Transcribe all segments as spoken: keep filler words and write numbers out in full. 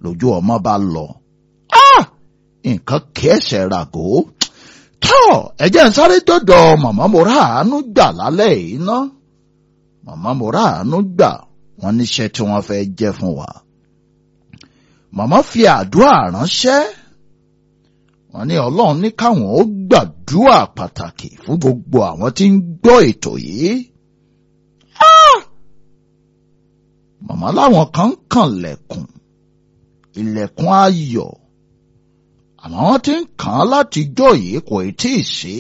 Lójú ọmọ bá lọ. Nǹkan kẹsẹ̀ ràgó. Tọ́ ẹ jẹ́ n sáré dọ́dọ̀ màmá mo ráàánú gbà lálẹ́ yìí ná. Màmá mo ráàánú gbà wọ́n níṣẹ́ tí wọ́n fẹ́ jẹ́ fún wa. Màmá fi àdúrà ránṣẹ́. Wọ́n ní Ọlọ́run ní káwọn ó gbàdúrà pàtàkì fún gbogbo àwọn tí ń gbọ́ ètò yìí. Màmá láwọn kan ń kànlẹ̀kùn, ilẹ̀kùn ayọ̀. Àmọ́ wọ́n ti ń kàn án látijọ́ yìí kò tí ì sí.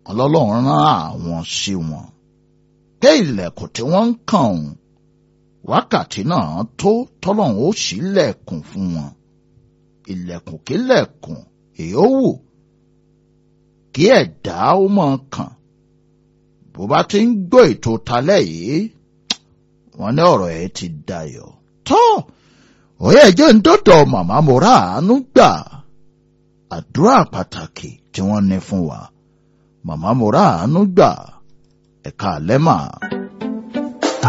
Ọlọ́run rán àwọn sí wọn. Pé ilẹ̀kùn tí wọ́n ń kàn òun, wákàtí náà tó tọ́lọ́run ó ṣílẹ̀kùn fún wọn. Ilẹ̀kùn kílẹ̀kùn èyí ó wù kí ẹ̀dá ó mọ̀ kàn. Bó bá ti ń gbọ́ ètò talẹ́ yìí, wọ́n ní ọ̀rọ̀ ẹ̀ ti dayọ̀. Tọ́ òye jẹ́ ń dọ́dọ̀ màmá mo ráàánú gbà àdúrà pàtàkì tí wọ́n ní fún wa. Màmá mo ráàánú gbà ẹ̀ka àlẹ́ mà.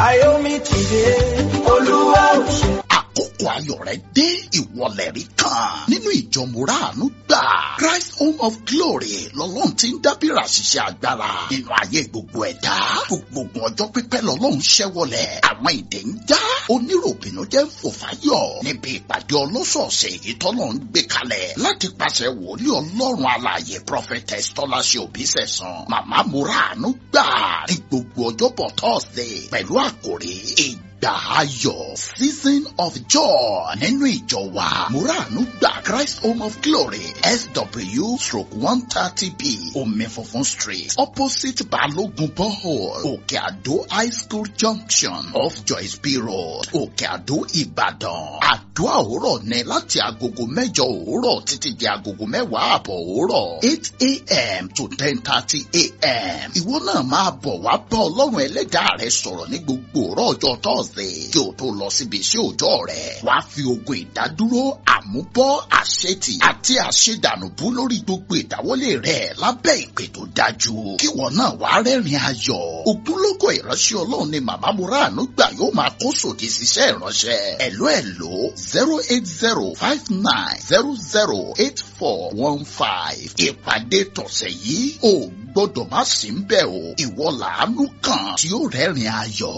Ayọ̀mí ti dé, Olúwa ò ṣe. Àkókò ayọ̀ rẹ̀ dé, ìwọlẹ̀ rí kan nínú ìjọ mo ráàánú gbà. Christ Home of Glory lọ́lọ́run ti ń dábìrà ṣiṣẹ́ agbára nínú ayé gbogbo ẹ̀dá. Gbogbo ọjọ́ pípẹ́ lọ́lọ́run ṣẹ́wọlẹ̀. Àwọn ìdè ń já, oníròbìnú jẹ́ ń fò fáyọ̀ níbi ìpàdé ọlọ́sọ̀ọ̀sẹ̀ èyí tọ́lọ́run gbé kalẹ̀ láti pàṣẹ wòlíì Ọlọ́run alààyè Prophetess Tọ́láṣẹ Òbísẹ̀san. Màmá mo ráàánú gbà ní gbogbo ọjọ́bọ̀ Thursday pẹ̀lú àkòrí ìgbà ayọ̀ season of joy nínú ìjọ wa muranu gba Christ Home of Glory S W stroke one thirty B Omi Funfun Street opposite Balogun Borehole Òkè Àdó High School Junction off Joyce B Road Òkè Àdó Ìbàdàn. Àdúrà òwúrọ̀ ní láti agogo mẹ́jọ òwúrọ̀ títí di agogo mẹ́wàá àbọ̀ òwúrọ̀ eight a.m. to ten thirty a.m. Ìwọ náà máa bọ̀ wá bá Ọlọ́run ẹlẹ́dàá rẹ sọ̀rọ̀ ní gbogbo òwúrọ̀ ọjọ́ Thursday kí o tó lọ síbi iṣẹ́ òòjọ́ rẹ̀. Wàá fi ogun ìdádúró, àmúbọ́, àṣetì àti àṣedànùbú lórí gbogbo ìdáwọ́lé rẹ̀ lábẹ́ ìpè tó dájú. Kíwọ náà wàá rẹ́rìn ayọ̀. Ògúnlógó ìránṣẹ́ Ọlọ́run ni Màmá Muranu gbà yóò máa kó sòdì síṣẹ́ ìránṣẹ́. Ẹ̀ló ẹ̀ló zero eight zero five nine zero zero eight four one five. Ìpàdé tọ̀sẹ̀ yìí ò gbọ́dọ̀ má sí ń bẹ̀ o. Ìwọ làánú kan tí ó rẹ́rìn ayọ̀.